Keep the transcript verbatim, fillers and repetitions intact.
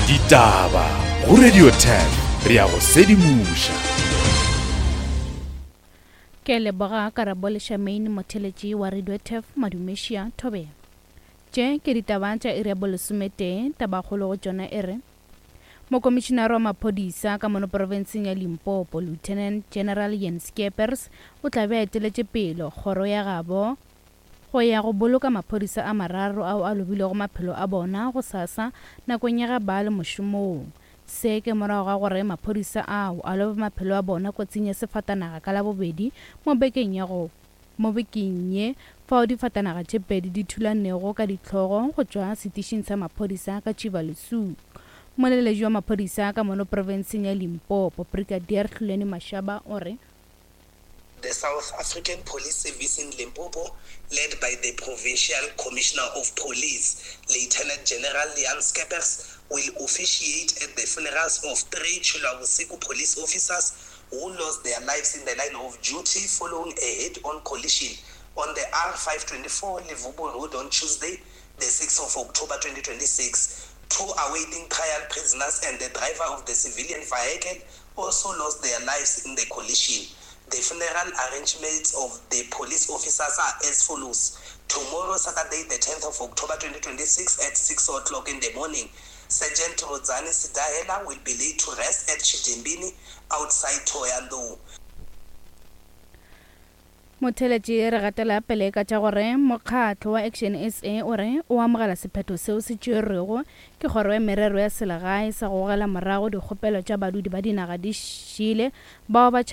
Ditaba go Radio ten re a go sedimoša. Ke leboga Karabo le Charmaine motheletši wa Radio Turf Madumešia Thobela. Tše ke ditaba tša iri ya bolesometee, tabakgolo go tšona e re Mokomišinare wa maphodisa ka mono profenseng ya Limpopo, Lieutenant General Jan Skeepers, o tla be a eteletše pele kgoro ya gabo go ya go boloka maphodisa a mararo ao a lobilego maphelo a bona gosasa nakong ya ge ba le mošomong. Se ke morago ga gore maphodisa ao a lobe maphelo a bona kotsing ya sefatanaga ka Labobedi mo bekeng ya go mo bekeng ye fao difatanaga tše pedi di thulanego ka dihlogo go tšwa setišing sa maphodisa ka Tšivalesuk. Moleledi wa maphodisa ka mono profenseng ya Limpopo, Brigadier Hlulani Mashaba o re, The South African Police Service in Limpopo, led by the Provincial Commissioner of Police, Lieutenant General Jan Skeepers, will officiate at the funerals of three Tshilwavhusiku police officers who lost their lives in the line of duty following a head-on collision on the R five twenty-four Levubu Road on Tuesday, the sixth of October twenty twenty-six. Two awaiting trial prisoners and the driver of the civilian vehicle also lost their lives in the collision. The funeral arrangements of the police officers are as follows. Tomorrow, Saturday, the tenth of October twenty twenty-six at six o'clock in the morning, Sergeant Rodzani Sidahela will be laid to rest at Chidembini outside Thohoyandou. Motheletši re gatela pele ka tša gore mokgatlo wa Action S A o re o amogela sephetho seo se tšerwego ke kgoro ya merero ya selegae sa go gogela morago dikgopelo tša badudi ba dinaga di šele bao ba tšhabetšego